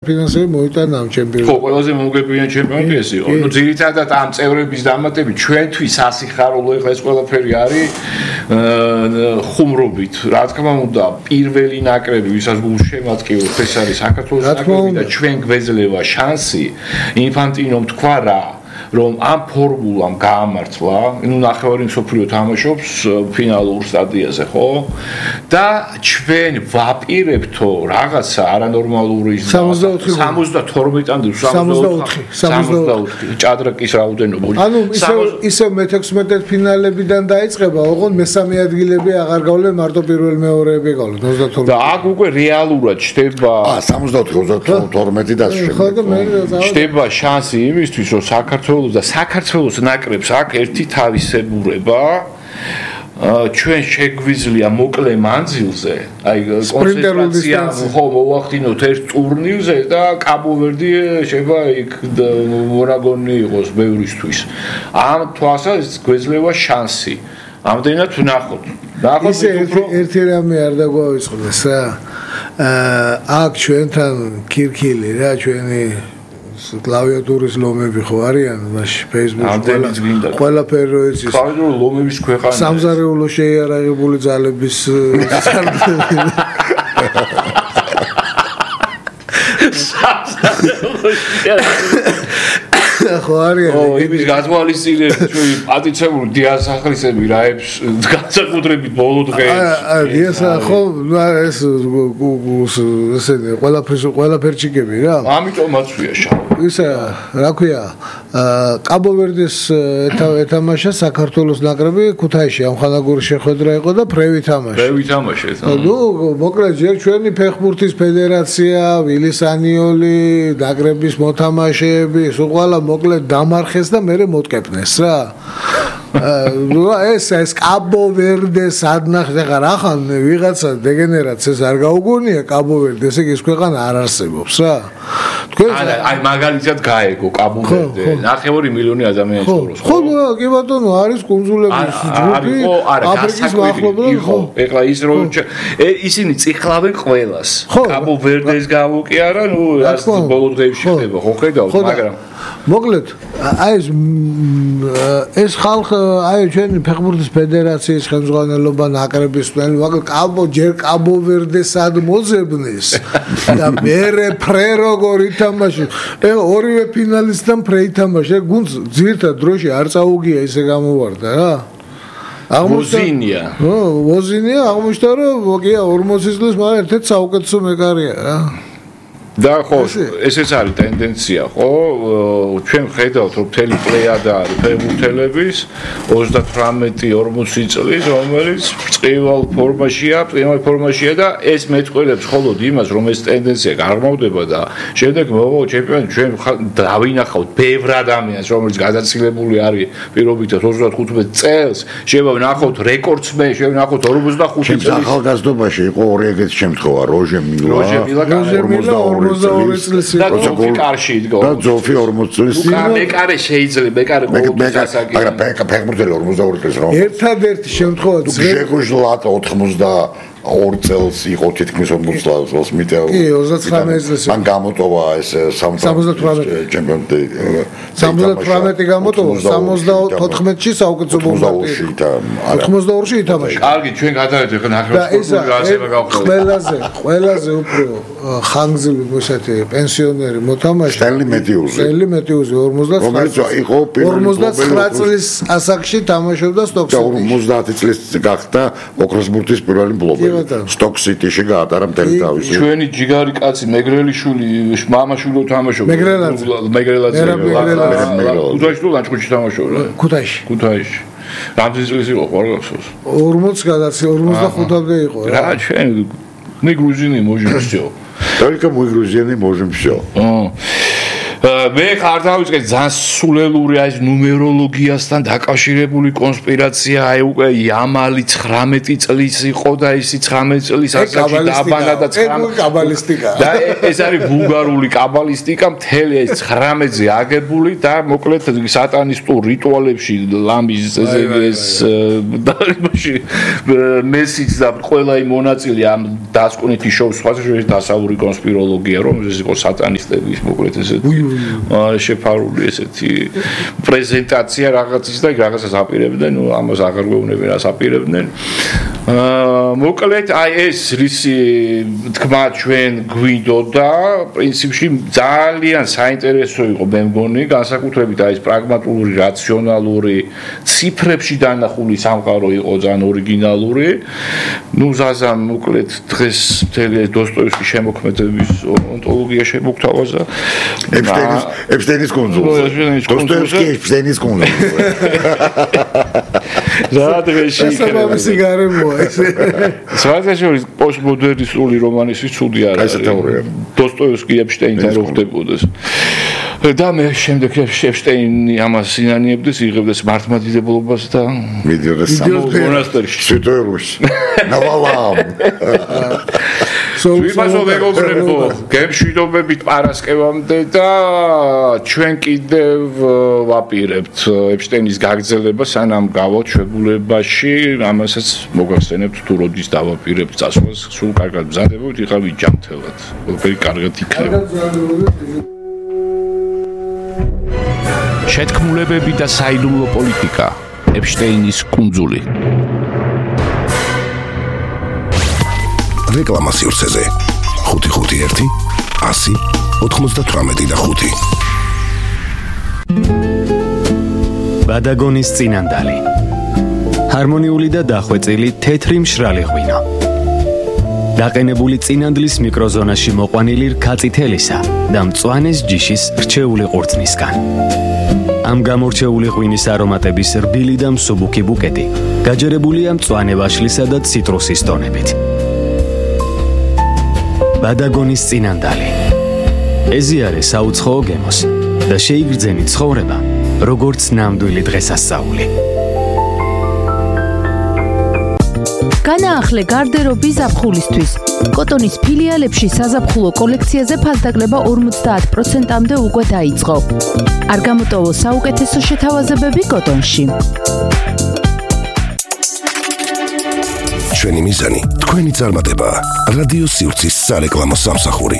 ფინანსები მოიტანა ამ ჩემპიონატს. ხო, ყველაზე მომგებიანი ჩემპიონატი ეს იყო. ნუ ძირითადად ამ წევრების დამატებით ჩვენთვის ასიხარულო ეხლა ეს ყველაფერი არის ხუმრობით. რა თქმა უნდა, პირველი ნაკრები, ვისაც გულშემატკივრობთ, ეს არის საქართველოს ნაკრები და ჩვენ გვეძლევა შანსი ინფანტინომ თქვა რა რომ ამ ფორმულამ გაამართლა, ნუ ნახევარი მსოფლიო თამაშობს ფინალურ სტადიაზე, ხო? და ჩვენ ვაპირებთო რაღაცა არანორმალური 72 ჭადრაკის რაოდენობა. ანუ ისე მე-16 ფინალებიდან დაიწყება, ოღონდ მესამე ადგილები აღარ გავლენ, მარტო პირველ მეორეები გავლენ 32. და აქ უკვე რეალურად ჩდება 74-32 და ჩდება შანსი იმისთვის, რომ საქართველოს ნაკრებს აქ ერთი თავისებურება ჩვენ შეგვიძლია მოკლე მანძილზე, აი კონცენტრაცია ხო მოვახდინოთ ერთ ტურნირზე და კაბო-ვერდი შეება იქ მონაგონი იყოს ბევრისთვის. ამ თვალსაზრისით გვეძლევა შანსი. ამდენად ვნახოთ. ისე ერთი რამე არ დაგვაიწყდეს რა. აქ ჩვენთან ქირქილი რა ჩვენი კლავიატურის ლომები ხო არიან მაშინ Facebook-ში ყველაფერი რო იცის კლავიატურის ლომების ქვეყანა სამზარეულო შეიარაღებული ძალების ხო არიან იმის გათვალისწინებით ჩვენი პატიცებული დიასახლისები რაებს განსაკუთრებით ბოლო დღეებში დიასა ხო ეს ესენი ყველაფერჩიკები რა ამიტომაც ვია შავ ისა რა ქვია კაბო-ვერდეს ეთამაშა საქართველოს ნაკრები ქუთაისში ამხანაგური შეხვედრა იყო და ფრევი თამაშეს ნუ მოკლედ ჯერ ჩვენი ფეხბურთის ფედერაცია ვილის ანიოლი ნაკრების მოთამაშეები სულ ყველა მოკლედ დამარხეს და მე მოტკეპნეს რა ეს კაბო-ვერდეს ადნახეს ახლა რახან ვიღაცა დეგენერატს ეს არ გაუგონია კაბო-ვერდი ესე იგი ეს ქვეყანა არ არსებობს რა თქვენ აი მაგალითად გაეგო კაბო-ვერდი 9 მილიონი ადამიანი ცხოვრობს ხო კი ბატონო არის კუნძულების ჯგუფი აფრიკის მახლობლად ხო ეხლა ის რომ ისინი წიხლავენ ყველას კაბო-ვერდეს გავუკიარა ნუ ბოლო დღეებში ხდება ხო ხედავთ მაგრამ მოკლედ აი ეს ხალხი აი ჩვენი ფეხბურთის ფედერაციის ხელმძღვანელობა ნაკრების მაგრამ კაბო-ვერდეს ad მოძებნეს და მერე ფრე როგორ ითამაშა ორივე ფინალისტთან ფრე ითამაშა გუნდს ძირთა დროში არ წაუგია ისე გამოვარდა რა ვოზინია აღმოჩნდა რომ მოგია 40 წლის მაგრამ ერთ-ერთი საუკეთესო მეკარია რა და ხო ესეც არის ტენდენცია ხო ჩვენ ხედავთ რომ მთელი პლეიადა არის ფეხბურთელების 38-40 წლის რომელიც წივალ ფორმაშია და ეს მეტყველებს მხოლოდ იმას რომ ეს ტენდენცია გაღრმავდება და შემდეგ მოვაო ჩემპიონატი ჩვენ დავინახავთ ბევრ ადამიანს რომელიც გადაცილებული არის პირობითად 35 წელს შევვნახავთ რეკორდსმენ შევვნახავთ 45 წელს ახალგაზრდობაში იყო ორი ეგეთი შემთხვევა როჟე მილა 42 წლის იყო კარში იდგა და ზოლფი 40 წლის მეკარე შეიძლება მეკარე ყოველთვის ასაკი მაგრამ ფეხბურთელი 42 წლის რომ ერთადერთი შემთხვევა შეგვეშლათ 82 წელს იყო თითქმის 40 წელს მიტეო კი 39 წელს მან გამოტოვა ეს 78 ჩემპიონატი 78 გამოტოვა 74-ში საუკეთესო ბოლოში 82-ში ითამაშა კარგი ჩვენ გადავიდეთ ახლა ნახევარსფეროს გასება გავხსნით ყველაზე უფრო ხანგრძლივი მოსათე პენსიონერი მოთამაშე სტენლი მეტიუზი 59 წლის ასაკში თამაშობდა სტოკ-სიტიში 50 წლის გახდა ოქროსბურთის პირველი მფლობელი სტოკ-სიტიში გაატარა მთელი თავისი ჩვენი ჯიგარი კაცი მეგრელიშვილი მამაშვილო თამაშობდა მეგრელაძე ქუთაისში თუ ლანჩხუთში თამაშობდა ქუთაისში რამდენი წლის იყო ხო არ გახსოვს 40 გადაცი 45-მდე იყო რა ჩვენ мы грузины можем всё только мы грузины можем всё მე ხარ დავიწყე ძალიან სულელური აი ნუმეროლოგიასთან დაკავშირებული კონსპირაცია, აი უკვე იამალი 19 წლის იყო და ისი 19 წლის ასაკში დააბანა და 19 კაბალისტიკა. და ეს არის ბულგარული კაბალისტიკა, მთელი ეს 19-ზე აგებული და მოკლედ სატანისტურ რიტუალებში ლამის ეს დაიბაში მესიც და ყველა იმ მონაწილე ამ დასკვნითი შოუს სხვადასხვა დასავლური კონსპიროლოგია, რომ ეს იყო სატანისტების მოკლედ ესეთი შეფარული ესეთი პრეზენტაცია რაღაცის და რაღაცას აპირებდნენ, ნუ ამას აღარ გვეუბნებიან რას აპირებდნენ. მოკლედ აი ეს რისი თქმა ჩვენ გვინდოდა, პრინციპში ძალიან საინტერესო იყო მე მგონი, განსაკუთრებით აი ეს პრაგმატული, რაციონალური, ციფრებში დანახული სამყარო იყო ძალიან ორიგინალური. ნუ ზაზამ მოკლედ დღეს მთელი დოსტოევსკის შემოქმედების ონტოლოგია შემოგთავაზა. ეპშტეინის კონსულზე. დოსტოევსკი ეპშტეინის კონსულზე. რა დღეში სამამისი გარემოა ეს. საერთაშორისო პოსტმოდერნისტული რომანისთვის ცუდი არ არის. დოსტოევსკი ეპშტეინთან რო ხდებოდეს. და მე შემდეგ ეპშტეინი ამას ინანიებდეს, იღებდეს მართლმადიდებლობას და მიდიოდეს მონასტერში. სვიტოელოში. ნავალამ. ვიფასო მეგობრებო, გემშვიდობებით პარასკევამდე და ჩვენ კიდევ ვაპირებთ ეპშტეინის გაგრძელება, სანამ გავოთ შეგულებაში, ამასაც მოგახსენებთ თუ როდის დავაპირებთ წასვლას, სულ კარგად მზადებოთ, იყავით ჯანმრთელად. ყველაფერი კარგად იქნება. შეთქმულებები და საიდუმლო პოლიტიკა, ეპშტეინის კუნძული. რეკლამა სივრცეზე 551 100 98 ბადაგონის წინანდალი. ჰარმონიული და დახვეწილი თეთრი მშრალი ღვინო. დაყენებული წინანდლის მიკროზონაში მოყვანილი რქაწითელისა და მწვანეს ჯიშის რჩეული ყურძნისგან. ამ გამორჩეული ღვინის არომატების რბილი და მსუბუქი ბუკეტი გაჯერებულია მწვანე ვაშლისა და ციტრუსის ტონებით. ბადაგონის წინანდალი. ეზიარე საუცხოო გემოს და შეიგრძენი ცხოვრება, როგორც ნამდვილი დღესასწაული. განაახლე გარდერობი ზაფხულისთვის. კოტონის ფილიალებში საზაფხულო კოლექციაზე ფასდაკლება 50%-მდე უკვე დაიწყო. არ გამოტოვო საუკეთესო შეთავაზებები კოტონში. ჩვენი მიზანი თქვენი წარმატება. რადიო სივრცის სარეკლამო სამსახური.